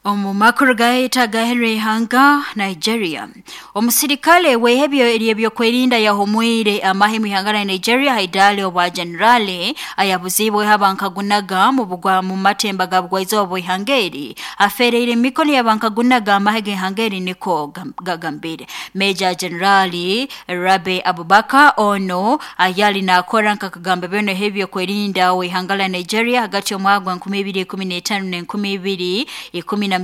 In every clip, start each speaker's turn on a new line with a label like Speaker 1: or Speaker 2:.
Speaker 1: Omu makuru gaitu agaherire ihanga Nigeria, omusirikale w'ehebyo ery'ebyokwerinda yahumwire amahe mu ihanga lya Nigeria haidali obwa generali ayabuzibweho abankagunaga mu bugwa mu matemba ga bugwaizoba bw'ihanga eri afereire emikono y'abankagunaga amahe g'ihanga eri niko gagambire. Major Generali Rabe Abubakar ono ayali nakora nkakagamba byona ebyokwerinda w'ihanga lya Nigeria hagati y'omwaka gwa 2015 na 2017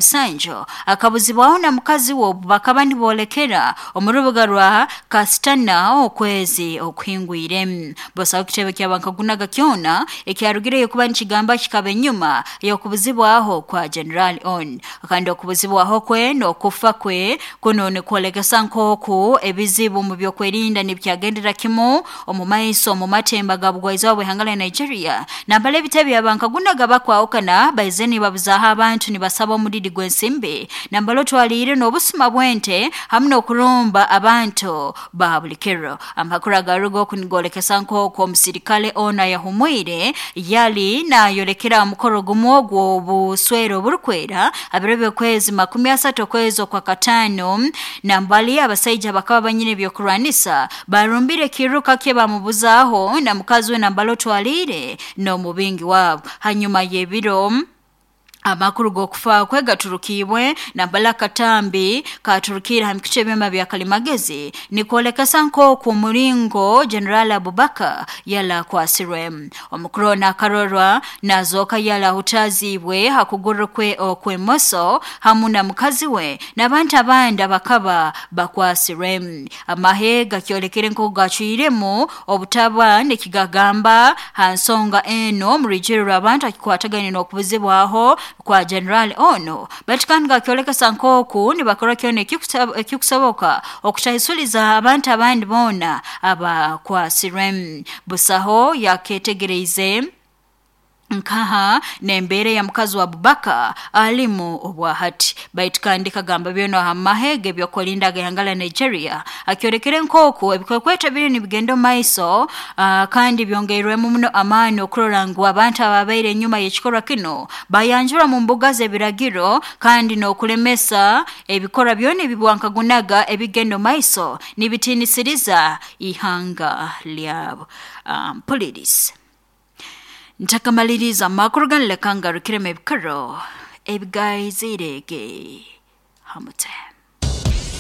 Speaker 1: akabuzibwaho na mukazi we obu bakaba niboolekera omu rubuga rwa Kasitana okwezi okuhingwire. Busaho ekitebe ky'abankagunaga kyona ekyarugireyo kuba nikigamba kikaba enyuma y'okubuzibwaho kwa General on. Kandi okubuzibwaho kwe n'okufa kwe kuno nikwolekesa nk'oku ebizibu mu byokwerinda nibyagendera kimu omu maiso omu matemba ga bugwaizoba bw'ihanga lya Nigeria. Nambala ebitebe by'abankagunaga bakwahukana baize nibabuzaaho abantu nibasaba omudidi gw'ensimbi nambala otwaliire n'obusuma bw'ente hamu n'okurumba abantu ba buli kiro. Amakuru agaruga oku nigolekesa nk'oku omusirikale ono ayahumwire yali nayolekera omukoro gumu ogw'obuswere oburukwera abiro by'okwezi 30 okwezi okwa kataano. Nambali abasaija bakaba banyine ebyokurwanisa barumbire ekiruka kye bamubuzaaho na mukazi we nambala otwaliire n'omubingi wabo. Hanyuma y'ebiro amakuru g'okufa kwe gaturukiibwe nambala akatambi katurukire ha mikutu ebyoma bya kalimagezi nikwolekesa nk'oku omuringo General Abubakar yali akwasirwe. Omukuru ono akarorwa nazooka yali ahutaziibwe ha kuguru kwe okw'emoso hamu na mukazi we n'abantu abandi abakaba bakwasirwe. Amahe gakyolekere nk'oku gacwiremu obutaba nikigagamba ha nsonga eno omu rwijwire rw'abantu akikwatagaine n'okubuzibwaho kwa General ono, baitu kandi gakyolekesa nk'oku nibakora kyona ekikusoboka okutahisuliza abantu abandi boona abakwasirwe. Busaho yaketegereize nkaha n'embeera ya mukazi wa Abubakar alimu obwahati. Baitu kandi kagamba byona aha mahe g'ebyokwerinda ag'ihanga lya Nigeria akyolekere nk'oku ebikwekweto biri nibigenda omu maiso, kandi byongeirwemu muno amaani okurora ngu abantu ababaire enyuma y'ekikorwa kino bayanjurwa mu mbuga z'ebiragiro kandi n'okulemesa ebikorwa byona ebibwankagunaga ebigenda omu maiso nibitiinisiriza ihanga lyabo. Mpuliriza. Ntakamaliriza amakuru ganu leka ngarukiremu ebikaro ebigaizirege hamute.